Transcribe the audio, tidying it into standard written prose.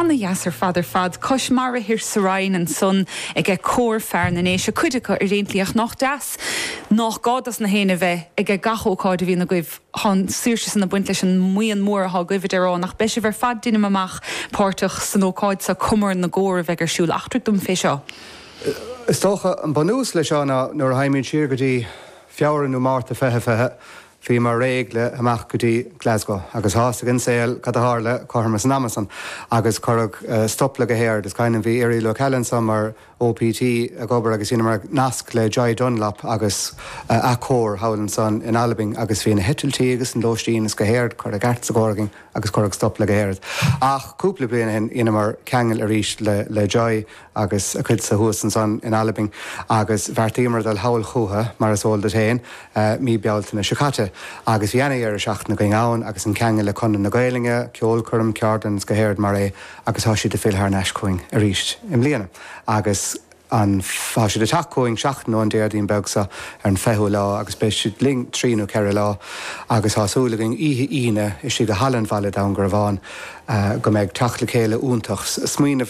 Ana-dheas ar fad ar fad. Cois mara thoir sa Rinn ansan aige Cór Fear na nDéise, cuid acu ar aon tslí ach nách deas nách gá dos na héinne bheith aige gach ócáid a bhíonn agaibh. Tá an saoirse san ag baint leis an mbuíon mór athá agaibh a déarfá ach beidh sibh ar fad deinim amach páirteach san ócáid seo, Comóradh na gCór a bheidh ar siúl. Eachtraigh dom fé seo. Is dócha an bunús le seo ná nuair a théimid siar go dtí Feabhra nó Márta 2020, bhíomar réidh le imeacht go dtí Glasgow agus tá fhios ag an saol cad a tharla cothrom san ama san agus cuireadh stop le go héard. Is cuimhin liom bhí Irial Ó Ceallaigh anso mar OPT ag obair agus dheineamar nasc le Joy Dunlop agus a cór thall ansan in Albain agus bhí na heitiltí agus an lóistín is go héard curtha i gceart sa gcór againn agus cuireadh stop le go héard. Ach cúpla bliain ó shin dheineamar ceangal arís le Joy agus a cuidse thuas ansan in Albain agus bheartaíomar dul thall chúthu, mar is eol duit féin, mí Bealtaine seo caite. Agus bhí ana-dheireadh seachtaine againn ann agus an ceangal le Conradh na Gaelainne, ceolchoirm, ceardlann is go héard mar é agus tá siad ag filleadh thar n-ais chugainn arís i mbliana agus an tá siad ag teacht chugainn seachtain ón Déardaoin beag seo ar an 20ú lá agus beidh siad linn trí nó ceithre lá agus tá súil againn oíche Aoine istigh i Halla an Bhaile Dún Garbhán go mbeidh teacht le chéile iontach. Smaoineamh.